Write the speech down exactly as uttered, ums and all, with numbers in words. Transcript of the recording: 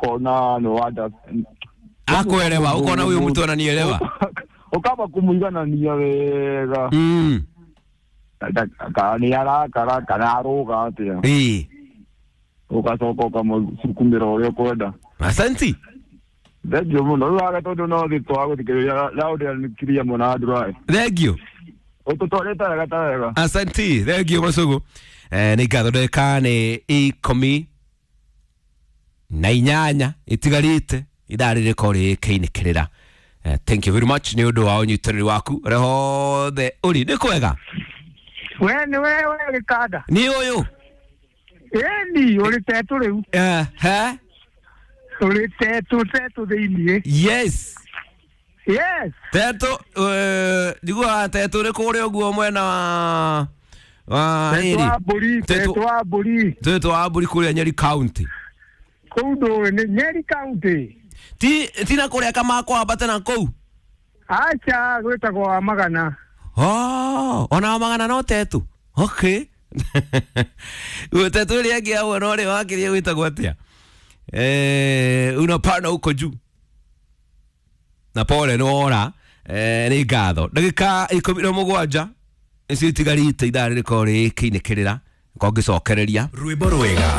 Ũkona nĩ wanda Akwerewa ukona uyu mtu ananielewa. Ũkamba kũmũiganania wega. Mm. Kana nĩ arakara kana arũga atĩa. Ĩĩ. Ũgacoka ũkamũsukumĩra ũrĩa ũkwenda. Asanti. Thengiũ mũno rĩu wage tondũ no thĩ twagũthikĩrĩria raũndĩanikiria mũno andũ. Thank you. Ũtũtwarĩte wega ta wega. Asanti, thank you Masugu. Eh, nĩ ngatho ndagĩka nĩ ikũmi na inyanya itigarĩte ithaa rĩrĩko rĩkĩinĩkĩrĩra. Eh, thank you very much nĩ ũndũ wa ũnyitanĩri waku ũrĩa hothe ũrĩ nĩ kwega. We nĩ we we gĩkanda. Nĩ ũyũ. Ĩni ũrĩ tetũ rĩu. Eh, he? Ũrĩ tetũ tetũ thĩiniĩ. Yes. Yes. Tetũ eh, njiguaga tetũ nĩ kũrĩa ũguo mwena wa wa Tetũ rĩrĩ. wa mbũri, Tetũ- tetũ wa mbũri. Tetũ wa mbũri kũrĩa Nyeri County. Kũu ndũĩ nĩ Nyeri County. Ti ti na kũrĩa Kamakwa na kũu. Aca gwĩtagwo wa magana. Oh, ona wa magana no tetu. Okay. Tetu ĩrĩa ĩngĩ ya mwena ũrĩa wakĩria gwĩtagwo atĩa? Eh, unapanda huko juu. Na pole nĩ wora. Eh, nĩ ngatho. Ndagĩka ikũmi na mũgwanja nĩcio itigarĩte ithaa rĩrĩkorwo rĩkĩinĩkĩrĩra. Ngĩcokereria. Rwĩmbo rwega.